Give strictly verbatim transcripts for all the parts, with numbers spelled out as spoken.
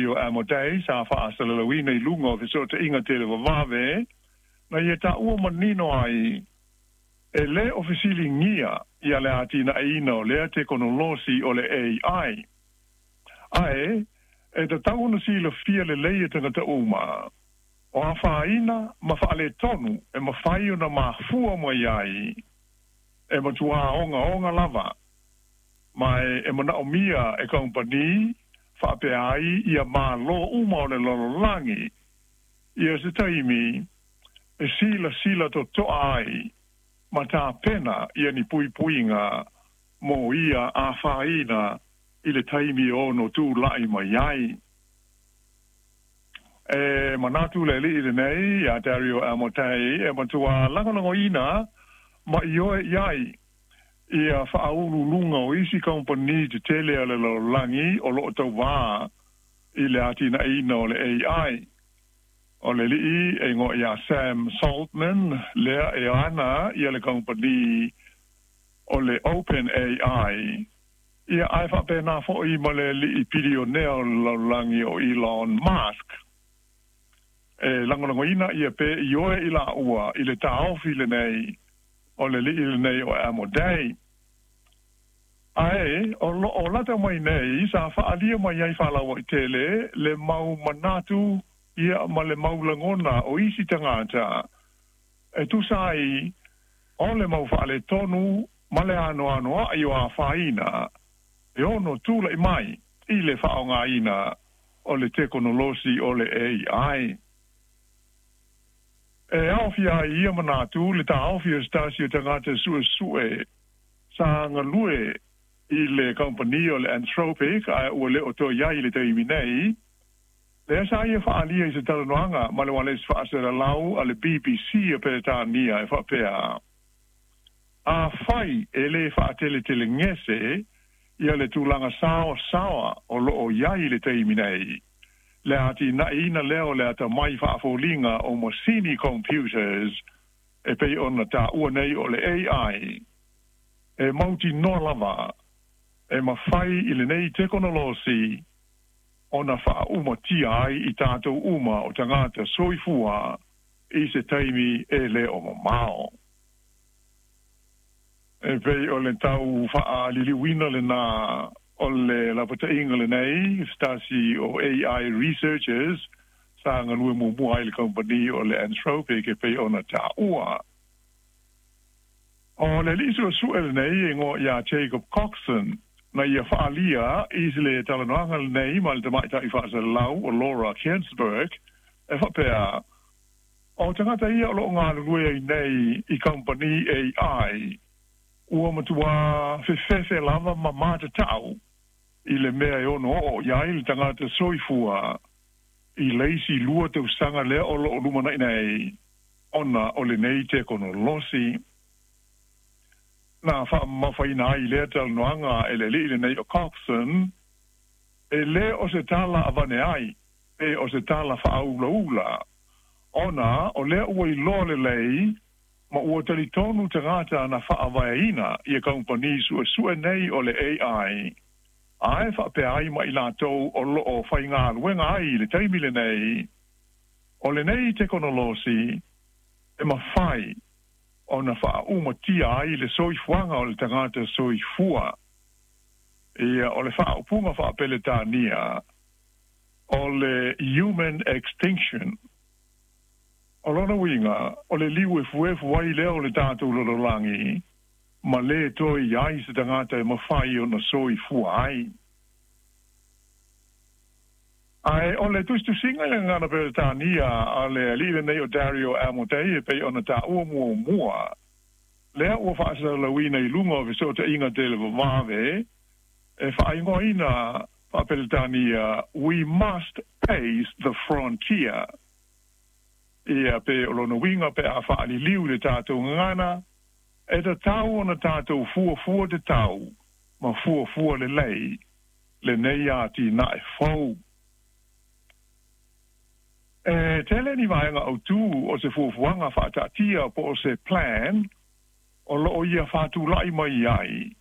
Dario Amodei sa faasalalauina i luga o fesootaiga televavave na ia taua manino ai e lē o fesiligia ia le atinaeina o lea tekonolosi o le A I, ae e tatau ona silafia lelei e tagata uma o afaina ma faaletonu e mafai ona mafua mai ai e matuā ogaoga lava ma e, e manaomia e kamupani faapea ai ia mālō uma o le lalolagi ia se taimi e silasila totoa ai ma tapena ia ni puipuiga mo ia afaina i le taimi ono tula'i mai ai. E manatu le alii lenei ia Dario Amodei e matuā lagolagoina ma ioe i ai ia faaululuga o isi kamupani tetele a le lalolagi o loo tauvā i le atinaeina o le A I. O le alii e igoa ia Sam Saltman lea e ana ia le kamupani o le Open A I ia ae faapena foʻi ma le alii pilionea o le lalolagi o Elon Musk e lagolagoina ia pe ioe i laua i le taofi lenei o le alii lenei o Amodei. Ae o loo lata mai nei sa faaalia mai ai faalauaitele le mau manatu ia ma le mau lagona o isi tagata e tusa ai o le mau faaletonu ma le anoanoaʻi o afaina e ono tulaʻi mai i le faaaogāina o le tekonolosi o le A I. E aofia ai ia manatu le taofi o se tasi o tagata suesue sa galue i le kamupani o le Anthropic ae ua le o toe iai i le taimi nei lea sa ia faaalia i se talanoaga ma le ualesi faasalalau a le B B C a Peretania e faapea, afai e lē faateletelegese ia le tulaga saoasaoa o loo iai i le taimi nei le atinaeina lea o le atamai faafoliga o masini computers e pei ona taua nei o le A I, e mautinoa lava e mafai i lenei tekonolosi ona faaumatia ai i tatou uma o tagata soifua i se taimi e lē o mamao. E pei o le tau faaliliuina lenā o le lapataiga lenei se tasi o A I researchers sa galue muamua ai le kamupani o le Anthropic e pei ona taua. O le alii suesue lenei e igoa iā Jacob Coxon na ia faalia i le talanoaga lenei ma le tamaitaʻi faasalalau o Laura Kuenssberg e faapea o tagata ia o loo galulue ai nei i kamupani A I ua matuā fefefe lava ma matatau i le mea e ono oo iai le tagata soifua i le isi lua tausaga lea o loo lumanaʻi nei ona o lenei tekonolosi. Na faamamafaina ai lea talanoaga e le alii lenei o Coxon e lē o se tala avane ai e o se tala faaulaula ona o lea ua iloa lelei ma ua talitonu tagata na faavaeina ia kamupani suesue nei o le A I ae faapea ai ma i latou o loo faigaluega ai i le taimi lenei o lenei tekonolosi e mafai ona faaumatia ai le soifuaga o le tagata soifua. Ia o le faaupuga faapeletania o le human extinction. O lona uiga o le liu efuefu ai lea o le tatou lalolagi ma lē toe iai se tagata e mafai ona soifua ai. Ae o le tusitusiga i le gagana Peretania a le alii lenei o Dario Amodei e pei ona taua muamua lea ua faasalalauina i luga o fesootaiga televavave e faaigoaina faapeletania "We must pace the frontier". Ia pe o lona uiga pe a faaliliu le tatou gagana e tatau ona tatou fuafua tatau ma fuafua lelei lenei atinae fou. E tele ni vaega autū o se fuafuaga faataatia po o se plan o loo ia faatulaʻi mai ai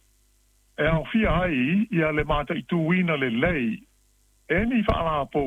e aofia ai ia le mataituina lelei e ni faalapo.